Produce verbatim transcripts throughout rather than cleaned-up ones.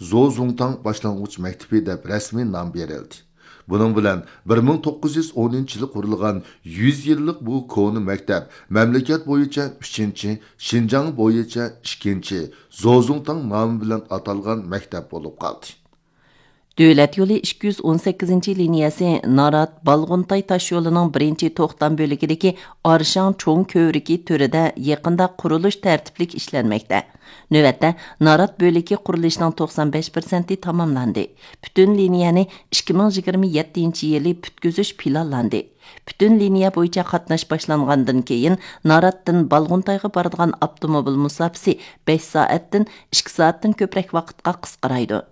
زوزۇڭتاڭ باشلانغۇچ مەكتىپى دەپ رەسمىي نام بېرىلدى. بۇنىڭ بىلەن بىر مىڭ توققۇز يۈز ئونىنچى يىلى قۇرۇلغان يۈز يىللىق بۇ كونا مەكتەپ مەملىكەت بويىچە ئۈچىنچى، شىنجاڭ بويىچە ئىككىنچى، زوزۇڭتاڭ نامى بىلەن ئاتالغان مەكتەپ بولۇپ قالدى. دۆلەت يولى ئىككى يۈز ئون سەككىزىنچى لىنىيەسى نارات، بالغۇنتاي تاشيولىنىڭ بىرىنچى توختام بۆلىكىدىكى ئارشاڭ چوڭ كۆۋرۈكى تۈرىدە يېقىندا قۇرۇلۇش تەرتىپلىك ئىشلەنمەكتە. نۆۋەتتە نارات بۆلىكى قۇرۇلۇشىنىڭ توقسان بەش پىرسەنتى تاماملاندى. پۈتۈن لىنىيەنى ئىككى مىڭ يىگىرمە يەتتىنچى يىلى پۈتكۈزۈش پىلانلاندى. پۈتۈن لىنىيە بويىچە قاتناش باشلانغاندىن كېيىن، ناراتتىن بالغۇنتايغا بارىدىغان ئاپتوموبىل مۇساپىسى بەش سائەتتىن ئىككى سائەتتىن كۆپرەك ۋاقىتقا قىسقىرايدۇ.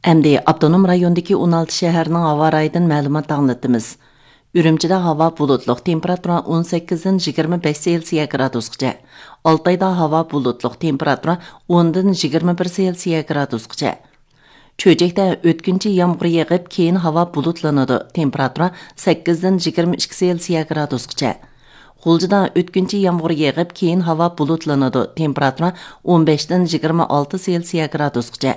ئەمدى ئاپتونوم رايوندىكى ئون ئالتە شەھەرنىڭ ھاۋا رايىدىن مەلۇمات ئاڭلىتىمىز. ئۈرۈمچىدە ھاۋا بۇلۇتلۇق، تېمپېراتۇرا ئون سەككىزدىن يىگىرمە بەش سېلسىيە گرادۇسقىچە. ئالتايدا ھاۋا بۇلۇتلۇق، تېمپېراتۇرا ئوندىن يىگىرمە بىر سېلسىيە گرادۇسقىچە. چۆچەكتە ئۆتكۈنچى يامغۇر يېغىپ، كېيىن ھاۋا بۇلۇتلىنىدۇ، تېمپېراتۇرا سەككىزدىن يىگىرمە ئىككى سېلسىيە گرادۇسقىچە. غۇلجىدا ئۆتكۈنچى يامغۇر يېغىپ، كېيىن ھاۋا بۇلۇتلىنىدۇ، تېمپېراتۇرا ئون بەشتىن يىگىرمە ئالتە سېلسىيە گرادۇسقىچە.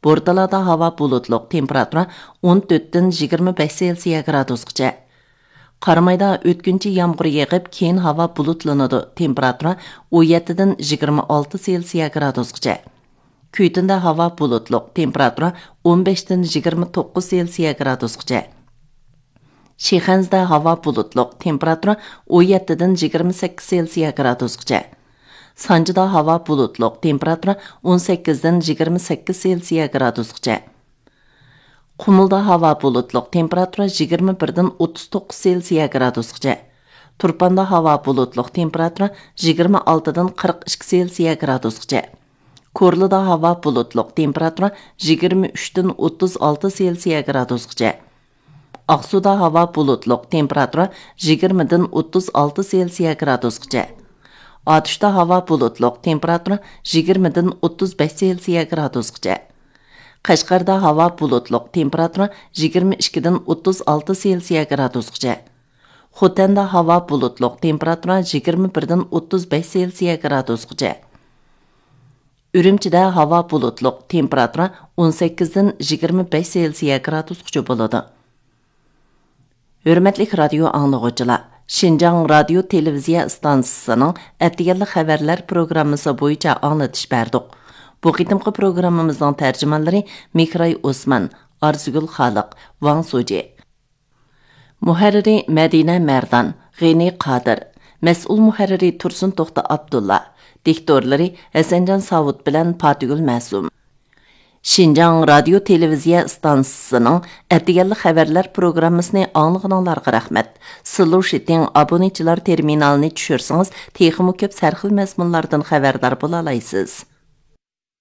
بورتالادا ھاۋا بۇلۇتلۇق، تېمپېراتۇرا ئون تۆتتىن يىگىرمە بەش سېلسىيە گرادۇسقىچە. قارامايدا ئۆتكۈنچى يامغۇر يېغىپ، كېيىن ھاۋا بۇلۇتلىنىدۇ، تېمپېراتۇرا ئون يەتتىدىن يىگىرمە ئالتە سېلسىيە گرادۇسقىچە. كۈيتۇندا ھاۋا بۇلۇتلۇق، تېمپېراتۇرا ئون بەشتىن يىگىرمە توققۇز سېلسىيە گرادۇسقىچە. شىخەنزىدە ھاۋا بۇلۇتلۇق، تېمپېراتۇرا ئون يەتتىدىن يىگىرمە سەككىز سېلسىيە گرادۇسقىچە. سانجىدا ھاۋا بۇلۇتلۇق، تېمپېراتۇرا ئون سەككىزدىن يىگىرمە سەككىز سېلسىيە گرادۇسقىچە. قۇمۇلدا ھاۋا بۇلۇتلۇق، تېمپېراتۇرا يىگىرمە بىردىن ئوتتۇز توققۇز سېلسىيە گرادۇسقىچە. تۇرپاندا ھاۋا بۇلۇتلۇق، تېمپېراتۇرا يىگىرمە ئالتىدىن قىرىق ئىككى سېلسىيە گرادۇسقىچە. كورلىدا ھاۋا بۇلۇتلۇق، تېمپېراتۇرا يىگىرمە ئۈچتىن ئوتتۇز ئالتە سېلسىيە گرادۇسقىچە. ئاقسۇدا ھاۋا بۇلۇتلۇق، تېمپېراتۇرا يىگىرمىدىن ئوتتۇز ئالتە سېلسىيە گرادۇسقىچە. ئاتۇشتا ھاۋا بۇلۇتلۇق، تېمپېراتۇرا يىگىرمىدىن ئوتتۇز بەش سېلسىيە گرادۇسقىچە. قەشقەردە ھاۋا بۇلۇتلۇق، تېمپېراتۇرا يىگىرمە ئىككىدىن ئوتتۇز ئالتە سېلسىيە گرادۇسقىچە. خوتەندە ھاۋا بۇلۇتلۇق، تېمپېراتۇرا يىگىرمە بىردىن ئوتتۇز بەش سېلسىيە گرادۇسقىچە. ئۈرۈمچىدە ھاۋا بۇلۇتلۇق، تېمپېراتۇرا ئون سەككىزدىن يىگىرمە بەش سېلسىيە گرادۇسقىچە بولىدۇ. ھۆرمەتلىك رادىيو ئاڭلىغۇچىلار، شىنجاڭ رادىيو تېلېۋىزىيە ئىستانسىسىنىڭ ئەتىگەنلىك خەۋەرلەر پروگراممىسى بويىچە ئاڭلىتىش بەردۇق. بۇ قېتىمقى پروگراممىمىزنىڭ تەرجىمانلىرى مىكراي ئوسمان، ئارزۇگۈل خالىق، ۋاڭ سۇجى. مۇھەررىرى مەدىنە مەردان، غېنى قادىر. مەسئۇل مۇھەررىرى تۇرسۇن توختى ئابدۇللا. دىكتورلىرى ھەسەنجان ساۋۇت بىلەن پاتىگۈل مەسۇم. شىنجاڭ رادىيو تېلېۋىزىيە ئىستانسىسىنىڭ ئەتىگەنلىك خەۋەرلەر پروگراممىسىنى ئاڭلىغىنىڭلارغا رەھمەت. سلۇشىتىڭ ئابونېنتچىلار تېرمىنالىنى چۈشۈرسىڭىز، تېخىمۇ كۆپ سەرخىل مەزمۇنلاردىن خەۋەردار بولالايسىز.